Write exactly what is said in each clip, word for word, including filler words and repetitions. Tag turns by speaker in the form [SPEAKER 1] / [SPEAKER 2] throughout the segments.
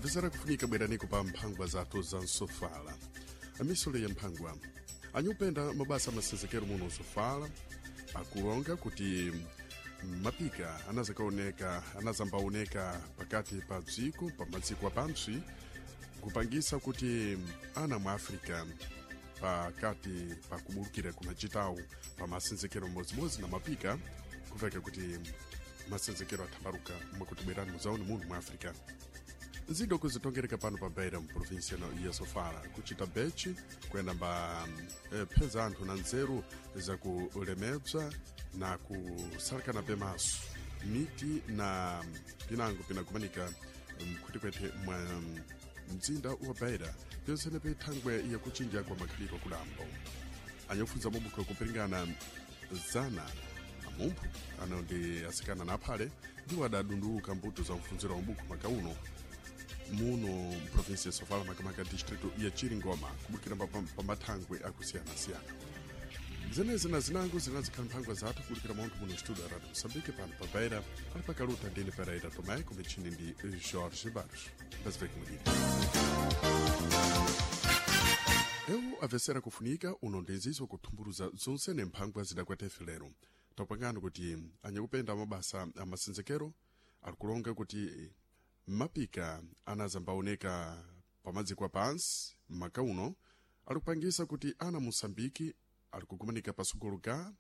[SPEAKER 1] Apesara kufunika bweraniko pa mphangwa zathu za nsofala. Amisole ya mphangwa anyupenda mabasa amasenzekero muno nsofala akulonga kuti mapika anazakaoneka anazambaoneka pakati pa dziko pa madziko apantsi kupangisa kuti ana mu Africa pakati pa kubulukira kunacitawu pa masenzekero mmodzimodzi na mapika kuveka kuti masenzekero athambaluka mwakuti bwerani muzaone muno mu Africa. Nzido kuzitongereka pano pa Beira mu província ya Sofala kuchita bechi kuyenda mba eh, pheza anthu na nzeru zakulemedza na kusalakana pemaso miti na pinango pinakumanika mkhwetikwete mwa mzinda wa Beira pyonsene pethangwe yakuchinja kwa makhalidwe kulambo. Anyakufunza mabukho kupiringana zana amumphu ano ndi asikana na aphale ndiwo adadunduluka mbuto za mfunziro wa mabukho makauno muno mprovinsi ya Sofala, makamaka distrito ya Chiringoma, kubukira pa mathangwe akusiyana-siyana. Zenezi na zinango zinazikhala mphangwa zathu kulikira munthu muno studio ya Radio Moçambique pano pa Beira ali pakaluta ndine Pereira Tomé kumichini ndi Jorge Barros. Mbaziveke mudini eu avesera kufunika uno ndi kuthumburuza zonse ne mphangwa zidakwate lero. Tapangano kuti anyakupenda mabasa amasenzekero alikulonga kuti mapika anazambaoneka pamadziko apansi maka uno alikupangisa kuti ana Moçambike alikugumanika pasogolo ga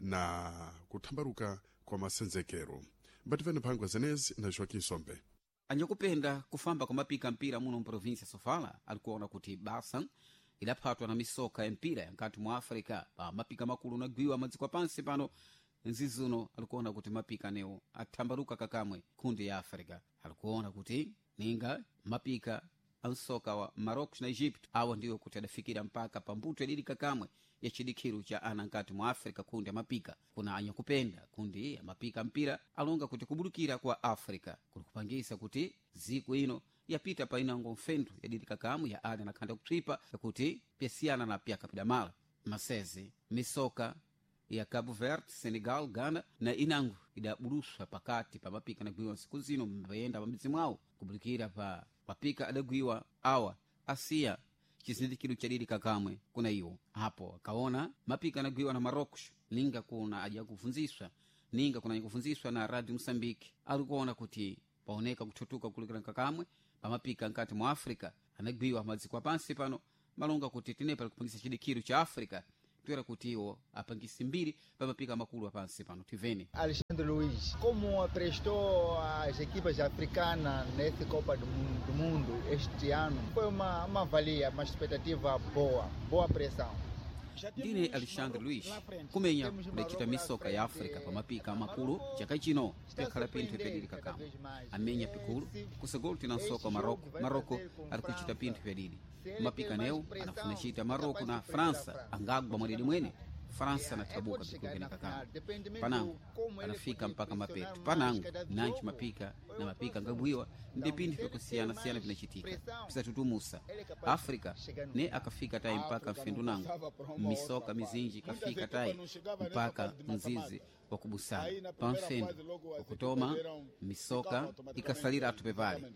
[SPEAKER 1] na kuthambaluka kwa masenzekero. Mbativene mphangwa zenezi na Joaquim Sombe.
[SPEAKER 2] Anyakupenda kufamba kwa mapika mpira muno mprovinsia Sofala alikuona kuti basa idaphatwa na misoka ya mpira yankati mwa Africa pa mapika makulu nagwiwa madziko apansi pano. Nzizuno alikuona kuti mapika anewo athambaluka kakamwe kundi ya Africa. Alikuona kuti ninga mapika ansoka wa Marocos na Egypt awa ndiwo kuti adafikira mpaka pambuto yadidi kakamwe ya chidikhiru cha ana nkati mwa Africa kundi ya mapika. Kuna anyakupenda kundi ya mapika mpira alonga kuti kubulukira kwa Africa kulikupangisa kuti ziku ino yapita pa inango mfendu yadidi kakamwe ya ana nakhanda kupsipa yakuti pyasiyana na pyakapidamala masezi misoka ya Cabo Verde, Senegal, Ghana na inango idabuluswa pakati pa mapika anagwiwa nsiku zino mbayenda pamidzi mwawo kubulikira pa mapika adagwiwa awa asiya chizindikiro chadidi kakamwe kuna iwo apo akaona mapika anagwiwa na Marocos ninga kuna aja kufunziswa ninga kuna kufunziswa na Radio Mosambike alikuona kuti paoneka kuthutuka kulikira kakamwe pamapika nkati mwa Africa anagwiwa madziko apansi pano malonga kuti tinepa likupangisa chidikiro cha Africa toera kuti iwo apangisi mbiri pamapika makulu apansi pano tivene.
[SPEAKER 3] Alexandre Luiz, como prestou as equipas africanas nessa Copa do Mundo, do Mundo este ano, foi uma, uma valia, uma expectativa boa, boa pressão.
[SPEAKER 2] Ndine Alexandre Luiz kumenya kudacita misoka ya Africa pamapika makulu chaka chino pyakhala pinthu pyadidi kakamwe amenya pikulu kusogolo tina nsoka wa Maroko. Maroko ali kuchita pinthu pyadidi mapika newo anafuna chita Maroko na França angagwa mwadidi mwene França anathabuka pikulu pene kakamwe panango anafika mpaka mapeto panango nanchi mapika na mapika angabwiwa ndi pinthu pyakusiyana-siyana pinachitika pisatutumusa Africa ne akafika tayi mpaka mfendu nango misoka mizinji ikafika tayi mpaka mzizi wakubusana pamfendu wakutoma misoka ikasalira atu pepale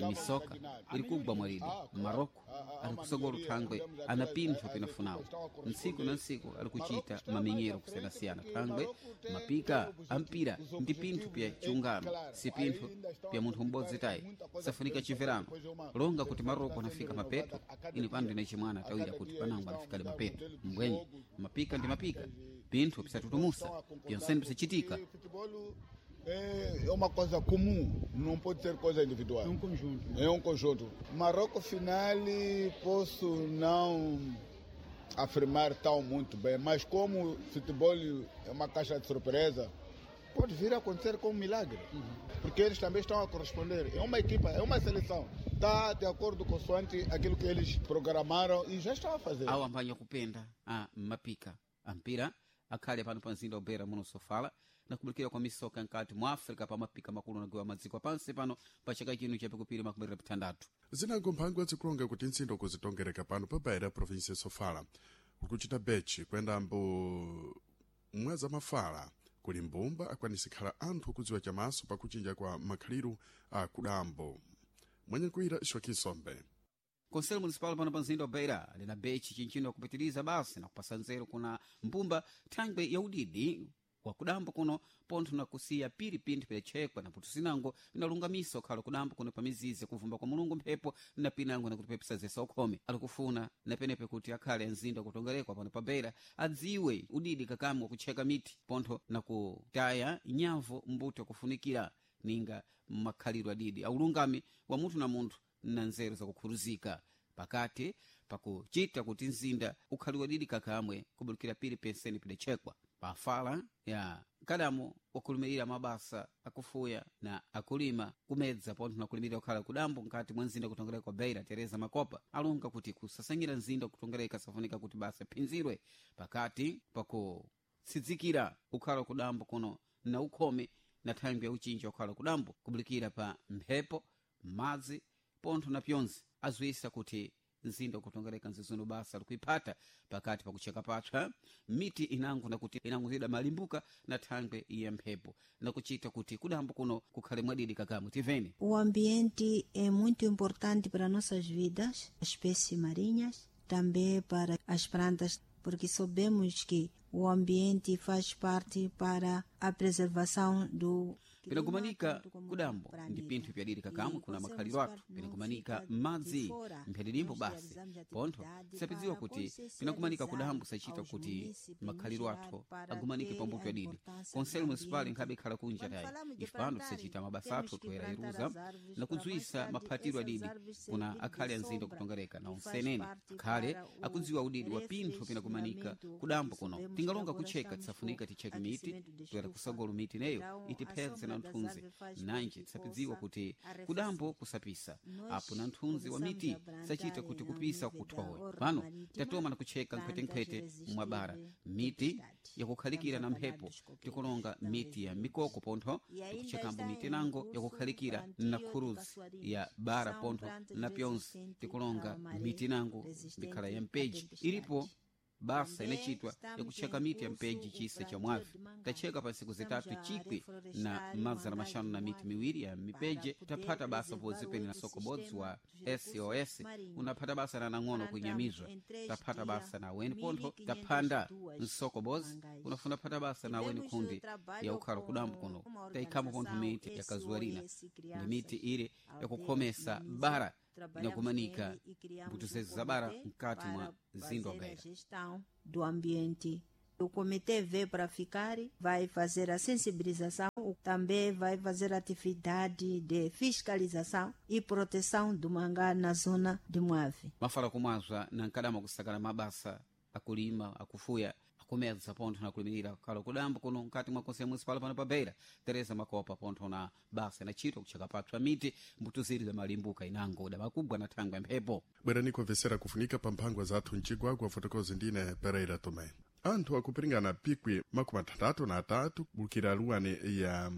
[SPEAKER 2] misoka ili kugwa mwalidi Maroko ali kusogolo thangwe ana pinthu pinafunawo ntsiku na ntsiku ali kuchita mamenyero kusiyanasiyana thangwe mapika ampira ndi pinthu pya chiungano si pinthu pya munthu m'bodzi tayi safunika chimverano longa kuti Maroko anafika mapeto ini pano ndine chimwana tawira kuti panango anafikale mapeto mbwenye mapika ndi mapika pinthu pisatutumusa pyonsene pisachitika.
[SPEAKER 4] É uma coisa comum, não pode ser coisa individual.
[SPEAKER 3] É um conjunto.
[SPEAKER 4] É um conjunto. Marrocos final posso não afirmar tão muito bem, mas como futebol é uma caixa de surpresa, pode vir a acontecer com um milagre. Uhum. Porque eles também estão a corresponder. É uma equipa, é uma seleção. Está de acordo consoante aquilo que eles programaram e já estão a fazer.
[SPEAKER 2] Awo ambanya kupenda a mapika ampira akhale pano pa mzinda wa muno Sofala na kubulikira kwa misoka nkati mwa Africa pa mapika makulu nagiwa madziko apansi pano pa chaka chino chapikupiri makumi atatu.
[SPEAKER 1] Zinango mphangwa zikulonga kuti ntsindo kuzitongereka pano pa Beira província ya Sofala kukuchita bechi kuyenda mbo mwaza mafala kuli mbumba akwanisa khala anthu kudziwa chamaso pakuchinja kwa makhaliru a kudambo. Mwenye Joaquim Sombe.
[SPEAKER 2] Conselho Municipal pano pa mzinda wa Beira lina bechi chinchino kupitiliza basi na kupasa nzeru kuna mbumba thangwe ya udidi wa kudambo kuno pontho na kusiya piri pinthu pidachekwa na putu sinango pinalungamisa ukhala kudambo kuno pa mizizi kuvumba kwa mulungu mphepo na pinango nakutipepesa zesa ukhome alikufuna na penepe kuti akhale mzinda kutongerekwa pano pa Beira adziwe udidi kakamwe wakutcheka miti pontho na kutaya nyamvo mbuto yakufunikira ninga makhalidwe adidi aulungami wa munthu na munthu na nzeru zakukhuluzika pakati pakuchita kuti mzinda ukhaliwe didi kakamwe kubulukira pili penseni pidachekwa pafala ya mkadamo wakulumirira mabasa akufuya na akulima kumedza pontho na kulimirira kukhala kudambo nkati mwa mzinda kutongereka kwa Beira Tereza Makopa alunga kuti kusasangira mzinda kutongereka safunika kuti basa phinzirwe pakati pakutsidzikira ukhala kudambo kuno na ukhome na thangwi ya uchinji wakhala kudambo kubulikira pa mphepo madzi pontho na pyonse azwisa kuti mzinda ukutongereka nzizuno basa likuiphata pakati pakucheka patsa miti inango nakuti inango zida malimbuka na thangwe ya mphepo nakuchita kuti kudambo kuno kukhale mwadidi kakamwe tiveni.
[SPEAKER 5] O ambiente é muito importante para nossas vidas, as espécies marinhas, também para as plantas, porque sabemos que o ambiente faz parte para a preservação do
[SPEAKER 2] pinakumanika kudambo ndi pinthu pyadiri kakamwe kuna makhalidwe athu pinakumanika madzi mphyadidimbo basi pontho tisapidziwa kuti pinakumanika kudambo sachita kuti makhalidwe athu agumanike pambuto yadidi konselo municipal nkhabe ikhala kunja tayi ife pano tisachita mabasa athu toyera iruza na kudziwisa maphatiro adidi kuna akhale anzinda kutongereka na onsenene akhale akudziwa udidi wa pinthu pinakumanika kudambo kuno tingalonga kucheka tisafunika ticheke miti toyera kusagolo miti neyo itiphedze na nthunzi nanje tisapidziwa kuti kudambo kusapisa apo na nthunzi wa miti sachita kuti kupisa kuthowe pano tatoma na kucheka nkhwetenkhwete mwabara miti yakukhalikira na mphepo tikulonga miti ya mikoko pontho tikuchekambo miti nango yakukhalikira na khuruzi ya bara pontho na pyonse tikulonga miti nango mikhala ya mpeji ilipo basa inachitwa yakucheka miti ya mpeji chisa cha mwavi tacheka pa ntsiku zitatu chikwi na mazana maxanu na miti miwiri ya mipeje taphata basa pozipeni na sokobodzi wa S O S unaphata basa na nang'ono kunyamizwa taphata basa na weni pontho taphanda msokobodzi unafuna phata basa na weni kundi ya ukhala kudambo kuno tayikhamo pontho miti ya kazuarina ndi miti ile yakukhomesa bara inakumanika mbuto zezo za bara mkati mwa mzinda wa Beira.
[SPEAKER 5] Gestão do ambiente. O comitê veio para ficar, vai fazer a sensibilização, também vai fazer atividade de fiscalização e proteção do mangá na zona de Moave.
[SPEAKER 2] Mafala kumwazwa na nkadama kusakala mabasa akulima akufuya akumedza pontho na kulimirira khala kudambo kuno mkati mwa konselho municipal pano pa Beira Tereza Makopa pontho na basa inachitwa kucheka pathu miti mbuto ziri za malimbuka inango damakugwa na thangwe ya mphepo.
[SPEAKER 1] Bwerani kumvesera kufunika pa mphangwa zathu mcigwagwa fotokozi ndine Pereira Tomé. Anthu akupiringana pikwi makumi atandatu na atatu kubulukira luwani ya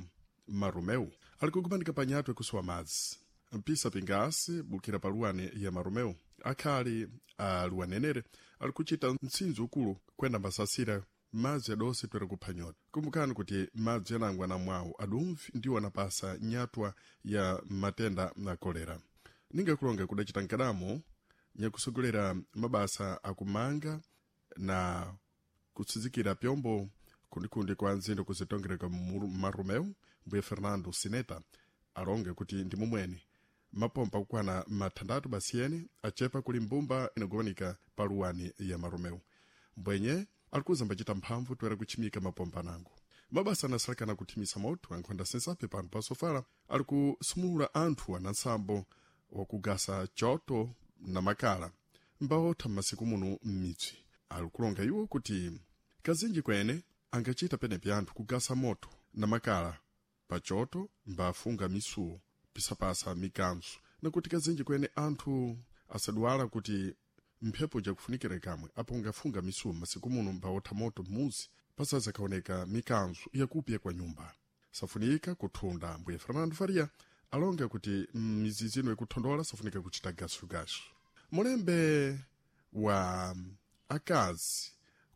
[SPEAKER 1] Marumeu ali kugumanika pa nyatwa ikusuwa madzi mpisa pingasi bulukira pa luwani ya Marumeu akhali a luwanenere ali kuchita mtsinzo ukulu kwenda mbasasira madzi adonse toera kupha nyota. Kumbukani kuti madzi anangwa na mwawu adumvi ndiwo anapasa nyatwa ya matenda na kolera. Ningakulonga kudacita nkadamo nyakusogolera mabasa akumanga na kutsinzikira pyombo kundikundi kwa nzindo kuzitongereka Marumeu mbuye Fernando Sineta alonge kuti ndi mumweni mapompa kukwana mathandatu basiyeni achepa kuli mbumba inagowanika pa luwani ya Marumeu mbwenye alikuza mbacita mphamvu toera kuchimika mapompa nango. Mabasa anasalekana kuthimisa moto ankhonda sensape pano pa Sofala ali kusumulula anthu ana nsambo wakugasa choto na makala mbawotha m'masiku muno m'midzi. Ali kulonga iwo kuti kazinji kwene angachita penepi anthu kugasa moto na makala pa choto mbafunga misuwo pisapasa mikanzo nakuti kazinji kwene anthu asadwala kuti mphepo jakufunikira kamwe apo ungafunga misuwo masiku muno mbawotha moto m'muzi pasazakaoneka mikanzo yakupya kwa nyumba safunika kuthunda. Mbuye Fernando Faria alonga kuti mizizi ino ikuthondola safunika kuchita gasugasu. Mulembe wa akazi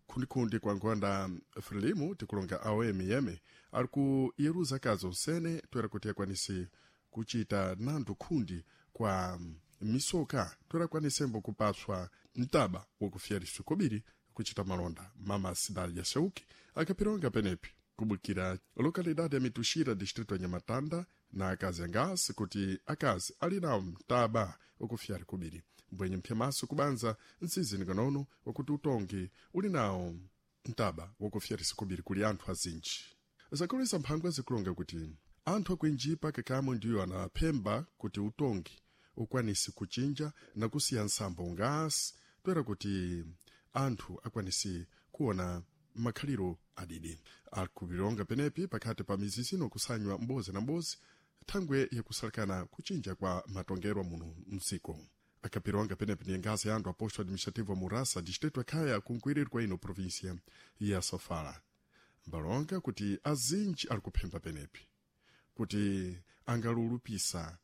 [SPEAKER 1] khundikhundi kwa nkhonda Frelimu tikulonga aom yeme ali kuyeruza akazi onsene toera kuti akwanise kuchita nandu khundi. kwa misoka torakwanisembo kupaswa mtaba wakufyarisa kobiri kuchita malonda. Mama Sidali ya Shauki akapironga penepi kubukira lokalidade ya Mituxira, distrito ya Nhamatanda, na akazi angasi kuti akazi ali nawo mtaba wakufyari kubiri mbwenye mpyamaso kubanza nsizini kanono wakuti utongi uli nawo mtaba wakufyarisa kubiri kuli anthu azinji. Zakulisa mphangwa zikulonga kuti anthu akuinjipa kakamwe ndiyo anaphemba kuti utongi ukwanise kuchinja na kusiya nsambo ngasi toera kuti anthu akwanise kuona makhaliro adidi. Akupilonga penepi pakati pa mizizino kusanywa mbozi na mbozi thangwe yakusalekana kuchinja kwa matongero muno mdziko. Akapilonga penepi ni ngazi ya anthu a posto administrativo Murasa, distrito akhaya kunkuirirwa ino província ya Sofala. Mbalonga kuti azinji ali kuphemba penepi kuti angalulupisa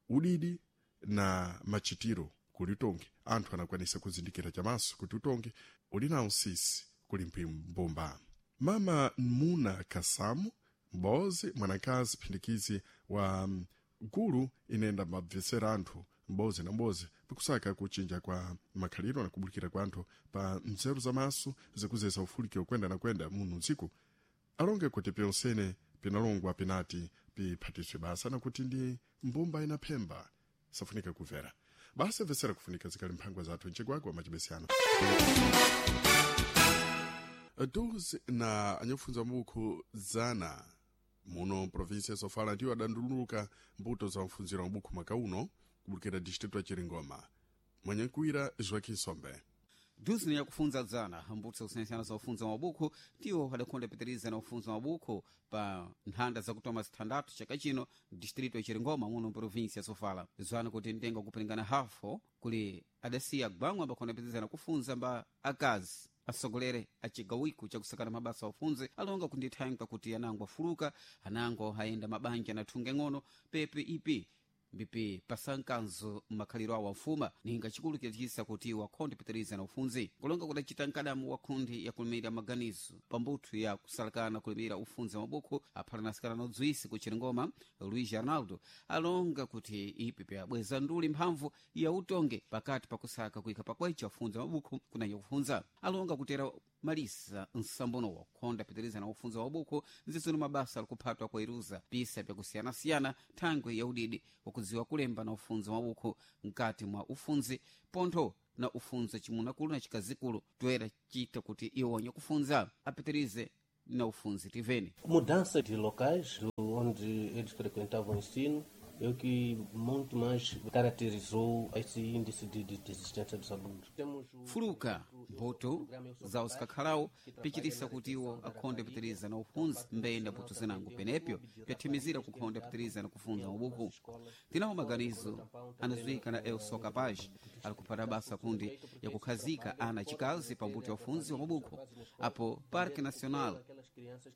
[SPEAKER 1] udidi na machitiro kuli utongi anthu anakwanisa kuzindikira chamaso kuti utongi uli nawo nsisi kuli mbumba. Mama Muna Kasamu mbozi mwanakazi phindikizi wa gulu inenda mabvesera anthu mbozi na mbozi pikusaka kuchinja kwa makhaliro na kubulikira kwa anthu pa nzeru zamaso zikuzesa ufulikiro kwenda na kwenda muno ntsiku alonge kuti pyonsene pinalongwa pinati piphatiswe basa na kuti ndi mbumba inaphemba safunika kumvera basa vesera kufunika zikali mphangwa zathu mcigwagwa macibesiyano doze na anyakufunza mabukhu zana muno província ya Sofala ndiwo adanduluka mbuto za mfunziro wa mabukhu mwaka uno kubulikira distrito ya Chiringoma. Mwanyankuwira Joaquim Sombe.
[SPEAKER 2] Duzini yakufunza dzana mbuto zakusiyanasiyana za ufunza mabukhu ndiwo adakhonda pitiriza na ufunza mabukhu pa nthanda zakutoma zithandathu chaka chino distrito ya Chiringoma muno província ya Sofala. Zwana kuti mtengo wakupilingana hafo kuli adasiya gwangwa ambakhonda pitiriza na kufunza mba akazi asogolere acigawiko chakusakana mabasa aufunze alonga kundithanka kuti anango afuluka anango ayenda mabanja anathunga ng'ono pepe ipi mbipi pasankanzo makhaliro awo afuma ninga chikulu chachisa kuti wakhonde pitiriza na ufunzi kulonga kudacita nkadamu wa khundi yakulimira maganizo pambuthu ya kusalakana kulimira ufunzi wa mabukhu aphalanasikana na udzwisi ku Chiringoma Luiz Arnaldo alonga kuti ipi pyabweza nduli mphamvu ya utonge pakati pakusaka kuika pakwecha ufunzi wa mabukhu kunanya kufunza alonga kutera malisa nsambono wakhonda pitiriza na ufunzi wa mabukhu nzizino mabasa alikuphatwa kwa iruza pisa pyakusiyanasiyana thangwe ya udidi wakudziwa kulemba na ufunzi wa mabukhu mkati mwa ufunzi pontho na ufunzi chimunakulu na chikazikulu toera chita kuti iwo kufunza apitirize na ufunzi tiveni.
[SPEAKER 6] Mudança de locais onde eles frequentavam o ensino é o que muito mais caracterizou esse índice de, de desistência dos alunos. Temos o
[SPEAKER 2] Fuluka mbuto za usikakhalawo pichitisa kuti iwo akhonde pitiriza na ufunzi mbeyenda mbuto zinango penepyo pyathimizira kukhonda pitiriza na kufunza mabuku. Tinawo maganizo anazuika na El Sou Capaz ali kuphata basa kundi yakukhazika ana chikazi pa mbuto ya ufunzi wa mabuku apo Parque Nacional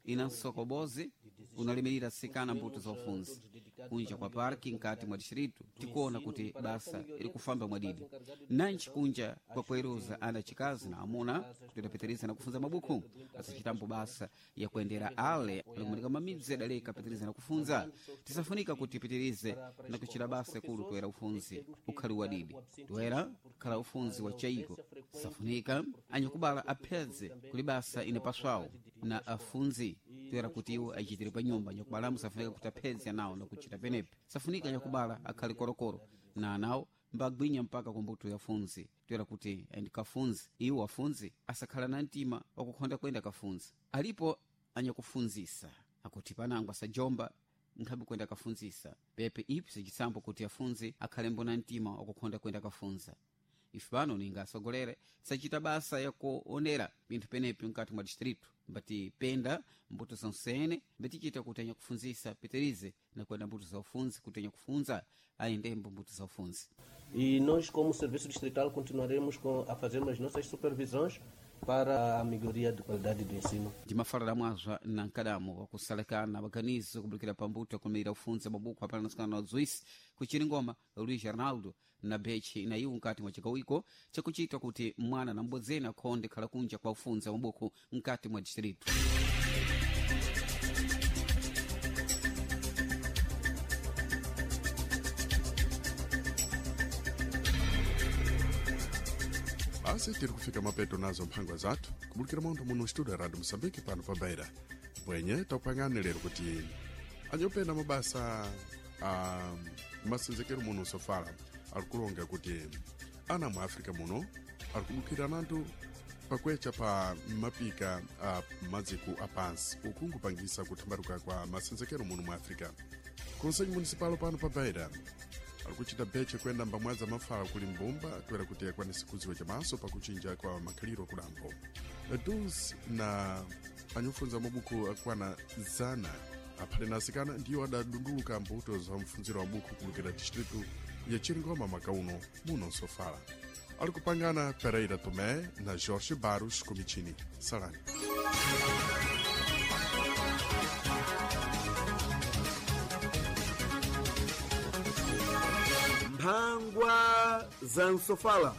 [SPEAKER 2] ina nsokobozi unalimirira sikana mbuto za ufunzi kunja kwa parki nkati mwa distrito tikuona kuti basa iri kufamba mwadidi nanchi kunja kwa kueruza ana chikazi na amuna kuti adapitiriza na kufunza mabuku asachitambo basa ya kuendera ale alikumanika mamidzi adaleka pitiriza na kufunza tisafunika kuti pitirize na kuchita basa kulu toera ufunzi ukhali wadidi toera khala ufunzi wa chaiko safunika anyakubala aphedze kuli basa inapaswawo na afunzi toera kuti iwo achitire pa nyumba nyakubalamu safunika kuti aphedze anawo na kuchita penepe safunika nyakubala akhale korokoro na anawo mbagwinya mpaka kumbuto ya funzi toera kuti aende kafunzi iwo afunzi asakhala na mtima wakukhonda kwenda kafunzi alipo anyakufunzisa akuti panango asajomba nkhabe kwenda kafunzisa pepe ipi sichisambo kuti afunzi akhale mbona mtima wakukhonda kwenda kafunza ife pano ninga asogolere sachita basa yakuonera pinthu penepi mkati mwa distrito mbati penda mbuto zonsene mbatichita kuti anyakufunzisa pitirize na kwenda mbuto za ufunzi kuti anyakufunza ayendembo mbuto za ufunzi.
[SPEAKER 6] E nós, como Serviço Distrital, continuaremos com, a fazer as nossas supervisões para a melhoria de qualidade do ensino.
[SPEAKER 2] Ndimafalira mwazwa na nkadamo wakusalekana maganizo kubulikira pambuto yakulimira ufunzi mabuku apalanasikana na udzwisi ku Chiringoma Luiz Arnaldo na bechi na iwo nkati mwa chikawiko chakuchita kuti mwana na mbodzeni akhonde khala kunja kwa ufunzi wa mabuku nkati mwa distrito.
[SPEAKER 1] Basi tiri kufika mapeto nazo mphangwa zathu kubulukira montho muno studio ya Radio Moçambique pano pa Beira. Bwenye takupangani lero kuti anyopenda mabasa a masenzekero muno sofala alikulonga kuti ana mu Africa muno alikudukira nanthu pakwecha pa mapika a maziko apansi uku nkupangisa kuthambaluka kwa masenzekero muno mu Africa. Conselho Municipal pano pa Beira alikuchita beche kwenda mbamwaza mafala kuli mbumba toera kuti akwanise kudziwa chamaso pakuchinja kwa makhaliro kudambo dus na anyofunza mabuku akwana zana aphale na asikana ndiwo adadunduluka mbuto za mfunziro wa buku kulukira distritu ya Chiringoma makauno muno Sofala. Alikupangana Pereira Tomé na Jorge Barros Comitini. Salani.
[SPEAKER 7] Mphangwa za Nsofala.